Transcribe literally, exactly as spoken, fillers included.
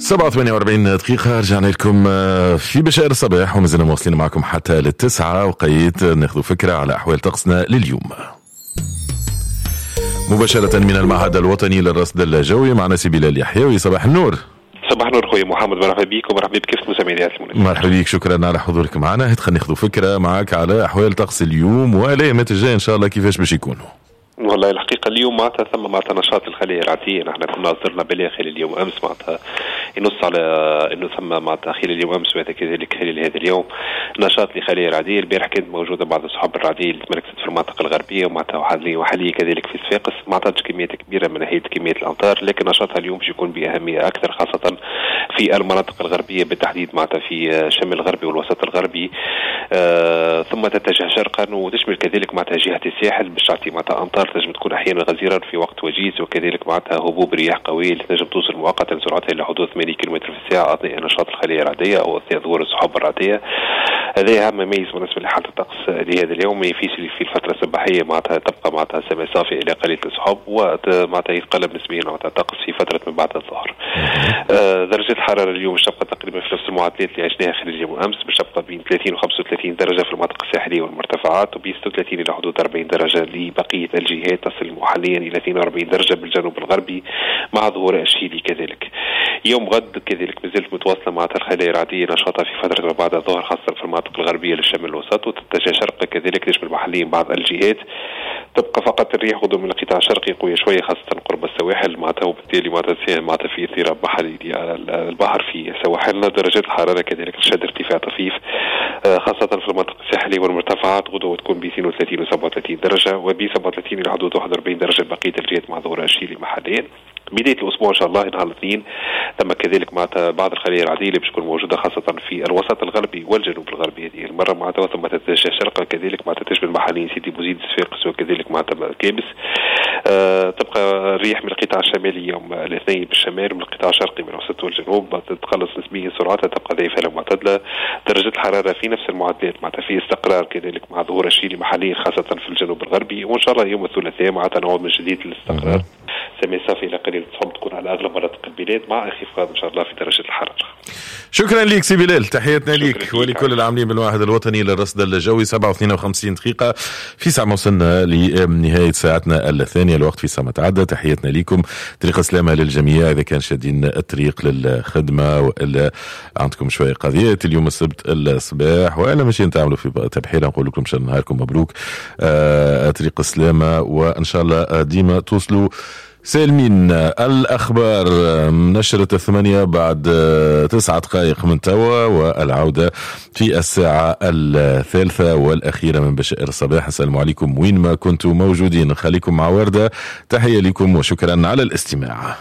سبعة وثمانية وأربعين دقيقة، رجعنا لكم في بشائر الصباح ومازلنا مواصلين معكم حتى للتسعة، وقيت ناخذ فكرة على أحوال طقسنا لليوم مباشرة من المعهد الوطني للرصد الجوي. معنا سي بلال يحيوي، صباح النور. صباح النور خويا محمد، مرحبا بك ومرحبا بكافة مستمعي المناسبة. مرحبا بك، شكرا على حضورك معنا. خلينا ناخذ فكرة معك على أحوال طقس اليوم والأيامات الجاية إن شاء الله كيفاش باش يكونوا. والله الحقيقة اليوم معناتها ثم معناتها نشاط الخلية الرعدية، نحن كنا أصدرنا بلاغ خلال اليوم أمس معناتها ينص على أنه ثم معناتها خلال اليوم أمس وهذا كذلك خلال هذا اليوم نشاط لخلية رعدية. البارح كانت موجودة بعض السحب الرعدية اللي تمركزت في المناطق الغربية ومعناتها وحاليا كذلك في صفاقس، ما عطاتش كميات كبيرة من ناحية كمية الأمطار، لكن نشاطها اليوم باش يكون بأهمية أكثر خاصة في المناطق الغربية بالتحديد معناتها في الشمال الغربي والوسط الغربي، آه ثم تتجه شرقا وتشمل كذلك معناتها جهة الساحل باش تعطي معناتها أمطار تنجم تكون احيانا غزيرة في وقت وجيز، وكذلك معناتها هبوب رياح قوية اللي تنجم توصل مؤقتا سرعتها الى حدود ثمانية كيلومتر في الساعة اثناء نشاط الخلية الرعديه او اثناء ظهور السحب الرعديه. هذا اهم ميز بالنسبة لحاله الطقس لهذا اليوم. في في الفترة الصباحية معناتها تبقى معناتها السماء صافية الى قليله السحب، ومعناتها يتقلب نسبيا معناتها الطقس في فترة من بعد الظهر. آه درجه الحرارة اليوم باش تبقى تقريبا في نفس المعدلات اللي عشناها خلال اليوم امس، باش تبقى بين ثلاثين و خمسة وثلاثين درجه في المناطق الساحلية والمرتفعات، وبين ستة وثلاثين الى حدود أربعين درجه لبقية الجهات، تصل حاليا الى اثنين وأربعين درجه بالجنوب الغربي مع ظهور الشيلي كذلك. يوم غد كذلك مازالت متواصلة مع الخلايا الرعديه نشاطها في فترة ما بعد الظهر خاصة في المناطق الغربية للشمال الوسط، وتتجه شرقا كذلك تشمل محليا بعض الجهات. تبقى فقط الريح غدو من القطاع الشرقي قوية شوية خاصة قرب السواحل معناتها، وبالتالي معناتها معناتها في اضطراب محلي البحر في سواحلنا. درجات الحرارة كذلك تشهد ارتفاع طفيف خاصة في المناطق الساحلية والمرتفعات، غدوه تكون ب اثنين وثلاثين و سبعة وثلاثين درجه وب سبعة وثلاثين الى حدود واحد وأربعين درجه بقية الجهات مع ظهور الشيلي محليا. بداية الأسبوع إن شاء الله نهار الاثنين ثم كذلك معناتها بعض الخلايا الرعدية اللي باش تكون موجودة خاصة في الوسط الغربي والجنوب الغربي هذه المرة معناتها، ثم تتجه شرقا كذلك معناتها تشمل محليا سيدي بوزيد صفاقس وكذلك معناتها كابس. أه تبقى الريح من القطاع الشمالي يوم الاثنين بالشمال ومن القطاع الشرقي من الوسط والجنوب تتقلص نسبيا سرعتها تبقى ضعيفة معتدلة. درجة الحرارة في نفس المعدلات معناتها في استقرار كذلك مع ظهور الشيلي محليا خاصة في الجنوب الغربي، وإن شاء الله يوم الثلاثاء معناتها نعود من جديد للاستقرار. سماء صافية إلى قليل السحب تكون على أغلب مناطق البلاد مع انخفاض إن شاء الله في درجة الحرارة. شكرا لك سي بلال، تحياتنا لك ولكل العاملين بالمعهد الوطني للرصد الجوي. سبعة واثنين وخمسين دقيقة في ساعة وصلنا لنهاية ساعتنا الثانية، الوقت في ساعة تعدى. تحياتنا لكم، طريق سلامة للجميع إذا كان شادين الطريق للخدمة وإلا عندكم شوية قضيات اليوم السبت الصباح وإلا ماشيين تعملوا في تبحيرة، نقول لكم إن شاء الله نهاركم مبروك، آه طريق سلامة وإن شاء الله ديما توصلوا سالمين. الأخبار نشرة الثمانية بعد تسعة دقائق من توا، والعودة في الساعة الثالثة والأخيرة من بشائر الصباح. السلام عليكم وين ما كنتم موجودين، خليكم مع وردة. تحية لكم وشكرا على الاستماع.